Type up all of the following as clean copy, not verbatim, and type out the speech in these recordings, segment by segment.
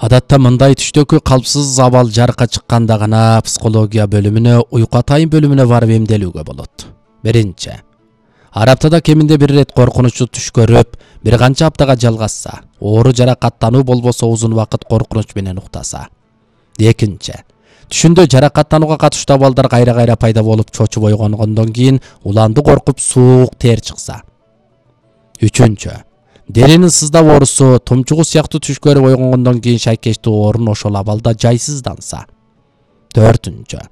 Адатта мындай түштөгү калпсыз абал жарыкка чыкканда гана психология бөлүмүнө, уйку атайын бөлүмүнө барып эмделүүгө болот. Биринчи, ар аптада кеминде бир ирет коркунучтуу түш көрүп, бир канча аптага жалгашса, оору жаракаттануу болбосо узун убакыт коркунуч менен уктаса. Экинчи, түшүндө жаракаттанууга катыштуу абалдар кайра-кайра пайда болуп чочуп ойгонгондон кийин уланды коркуп суук тер чыкса. Үчүнчү, деринин сыздап оорусу, тумчугу сыяктуу түш көрүп ойгонгондон кийин шайкештүү оорун ошол абалда жайсызданса. Төртүнчү,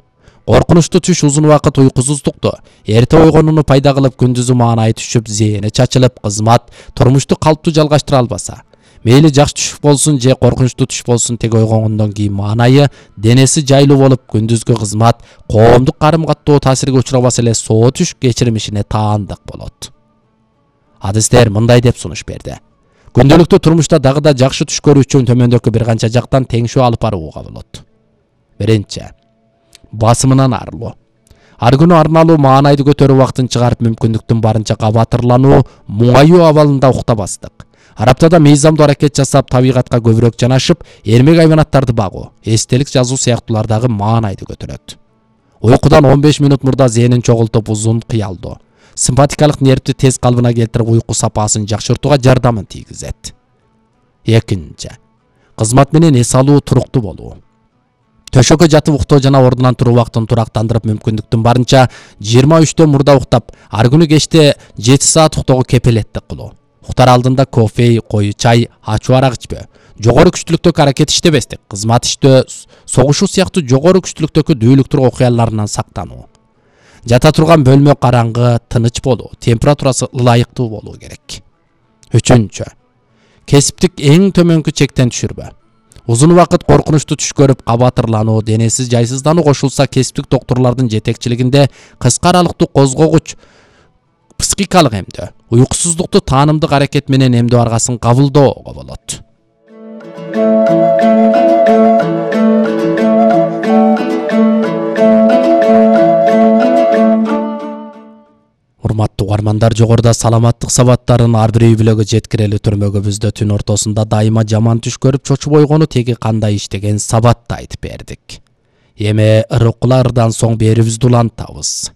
коркунучтуу түш узун убакыт уйкусуздукту, эрте ойгонууну пайда кылып күндүзү маанайы түшүп, зээни чачылып, кызмат, турмушту калптуу жалгаштыра албаса. Мейли жакшы түш болсун же коркунучтуу түш болсун, тег ойгонгондон кийин маанайы, денеси жайлуу болуп, күндүзгү кызмат, коомдук карым-каттоо таасирге учурабаса эле соо түш кечирмишине таандык болот. Адистер мындай деп сунуш берди. Күндөлүктүү турмушта дагы да жакшы түш көрүү үчүн төмөндөгү бир канча жактан теңшөө алып барууга болот. Биринчи, басымынан арылуу. Ар күнү арналуу маанайды көтөрүү убактын чыгарып, мүмкүндүктүн барынча кабатырлануу, муңаюу абалында уктабастык. Ар аптада мыйзамдуу аракет жасап, табигатка көбүрөөк жанашып, эрмек айванаттарды багуу, эстелик жазуу сыяктуулар дагы маанайды көтөрөт. Уйкудан 15 минут мурда зээнин чогултуп, узун кыялдоо, симпатикалык нервти тез калыбына келтирип, уйку сапасын жакшыртууга жардамын тийгизет. Экинчи, кызмат менен эс алуу, туруктуу болуу. Төшөккө жатып уктоо жана ордунан туруу убактын турактандырып, мүмкүндүктүн барынча 23 мурда уктап, ар күнү кечте 7 саат уктоого кепилеттик кылуу. Уктар алдында кофе, кою чай, ачуу арак ичпөө, жогору күчтүүлүктөгү аракет иштебестик, кызмат иштөө, согушуу сыяктуу жогору күчтүүлүктөгү дүүлүктүр окуяларынан сактануу. Жата турган бөлмө караңгы, тыныч болуу, температурасы ылайыктуу болуу керек. Үчүнчү, кесиптик эң төмөнкү чектен түшүрбө. Узун убакыт коркунучтуу түш көрүп, кабатырлануу, денеси жайсыздануу кошулса, кесиптик доктурлардын жетекчилигинде кыска аралыктуу козгогуч психикалык эмдөө, уйкусуздукту таанымдык аракет менен эмдөө аргасын кабылдоого болот. Урматтуу угармандар, жогоруда саламаттык сабаттарын ар бир үй бүлөгө жеткирели түрмөгүбүздө түн ортосунда дайыма жаман түш көрүп чочуп ойгонуу теги кандай иштеген сабатты айтып бердик. Эми ырыкуулардан соң берүүбүздү улантабыз.